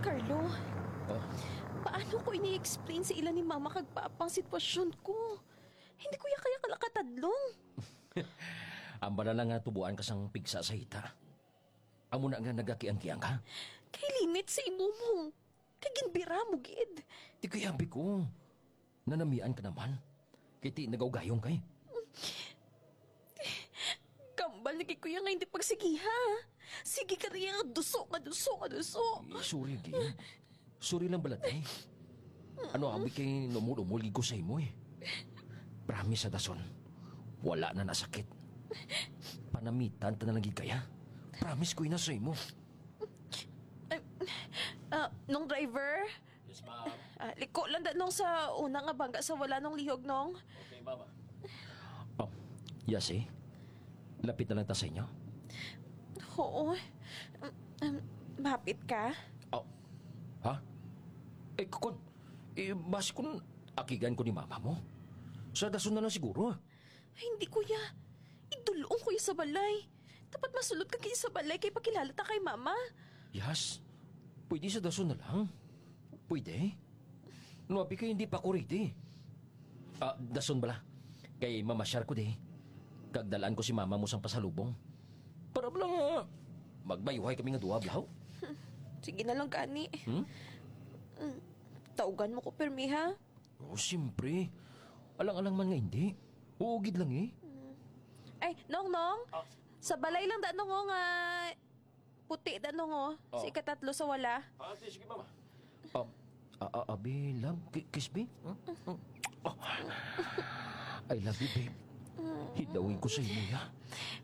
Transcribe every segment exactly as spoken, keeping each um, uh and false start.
Carlo, Oh, paano ko ini-explain sa ila ni Mama kag Papa ang sitwasyon ko? Hindi ko ya kaya kalakatadlong. Ang bala lang nga tubuan ka sang pigsa sa hita. Amo na nga nagakiang-kiang ka. Kay limit sa imo mo. Kay ginbira mo gid. Di kay abi ko. Nanamian ka naman. Kay ti nagaugayon kay. Kambal na gid ko ya nga hindi pagsigiha. Sige ka riya nga duso, nga duso, nga duso. Eh, sorry, gi. Sorry lang bala, te. Ano, abi kay numol-umol gid ko sa imo, eh. Promise sa dason. Wala na nasakit. Panamitan ta na lang gid kaya. Promise ko ina sa imo. Ay, ah, nong driver? Yes, ma'am. Ah, liko lang da nong sa una nga bangga sa wala nong lihog nong. Okay, mama. Oh, Yasi, lapit na lang ta sa inyo. Oo. Um, um, mahapit ka? Oh, ha? Eh, kukon, eh, basi kun akigan ko ni mama mo. Sa dason na lang siguro. Ay, hindi, kuya. Idulong ko ya sa balay. Dapat masulod ka kay sa balay kay pakilala ta kay mama. Yas, pwede sa dason na lang. Pwede. No, abi kay hindi pa ko ready. Ah, dason bala. Kay mamasyar ko di. Kag dalaan ko si mama mo sang pasalubong. Para bala nga magbayuhay kami nga duha, blaw. Sige na lang gani. Hmm? Mm, tawgan mo ko pirmi, ha? Oh, siyempre. Alang-alang man nga hindi. Oo, gid lang eh. Ay, Nong, Nong. Ah. Sa balay lang da, Nong, oh, nga puti da, Nong, oh. Oh. Sa ikatatlo sa wala. Ah, sige, mama. Um, a- a- abi, love, ki- kiss me. Hmm? Hmm? Oh. I love you, babe. Hidawin ko sa imo, ya.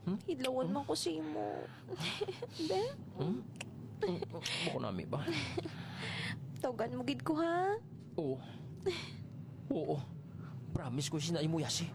Hmm? Hidlawon man ko sa imo. Be? Hmm? Hmm? Bako nami ba? Tawgan mo gid ko, ha? Oo. Oo. Promise ko sina imo, Yasi.